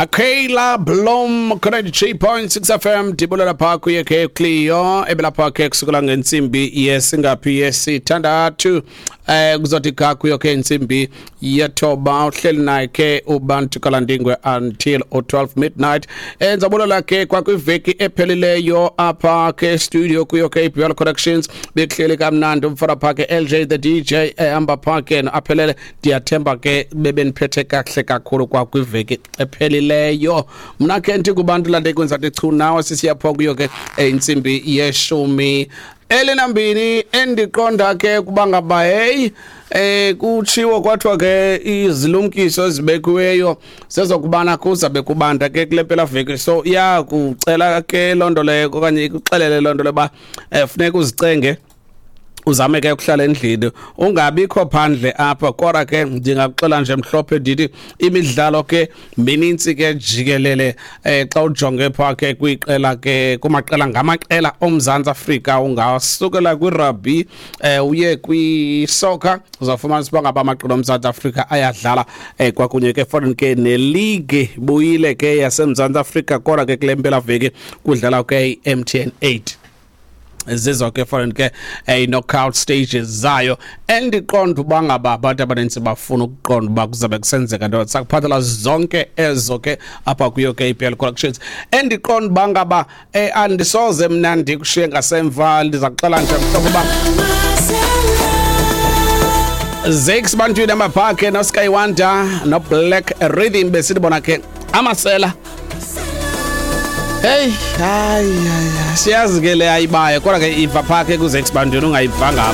Akayla Blom 93.6 FM dibulela pha kuye ke Cleo ebelapha ke kusukela ngentsimbi yesingaphi yesithandathu kuzothi ga kuyo ke intsimbi yethoba uhleli naye ke uBantu Kalandingwe until 12 midnight. Enzabulela ke kwakwiveki ephelileyo apha ke studio kuyo ke iBL Connections bekuhleli kamnandi umfana pha ke LJ the DJ ehamba pha ke aphelele. Ndiyathemba ke bebeniphethe kakuhle kakhulu kwakwiveki ephelileyo. Mna ke ndithi kubantu lande kwenza chu nawe sisiyapha kuyo ke intsimbi yeshumi elinambini. Endiqonda ke kuba ngaba hey kutshiwo kwathiwa ke izilumkiso ezibekiweyo sezokubana kuzabe kubanda ke kule mpelaveki, so iyakucela ke loo nto leyo okanye ikuxelele loo nto leyo uba funeka uzicenge, uzame ke ukuhlala endlini, ungabikho phandle apha. Kodwa ke ndingakuxela nje mhlophe ndithi imidlalo ke minintsi ke jikelele. Xa ujonge pha ke kwiqela ke kumaqela ngamaqela oMzantsi Afrika, ungasukela kwirugby uye kwisoccer, uzawufumanisa uba ngaba amaqela oMzantsi Afrika ayadlala kwakunye ke foreign ke neleague buyile ke yaseMzantsi Afrika. Kodwa ke kule mpelaveki kudlala ke i-MTN 8 zizo ke foreign ke i-knockout stages zayo. Endiqonda uba ngaba abantu abanintsi bafuna ukuqonda uba kuzabe kusenzeka nto, sakuphathela zonke ezo ke apha kuyo ke iPL Collections. Endiqonda uba ngaba andisoze mna ndikushiye ngasemva, ndiza kuxela nje mhlobo uba Zakes Bantwini amaphakhe noSkywanda noBlack Rhythm besithi bona ke amasela. Hey, hayi, hayi, siyazi ke le ayibayo, kodwa ke iva phakhe kuZakes Bantwini ungayivanga.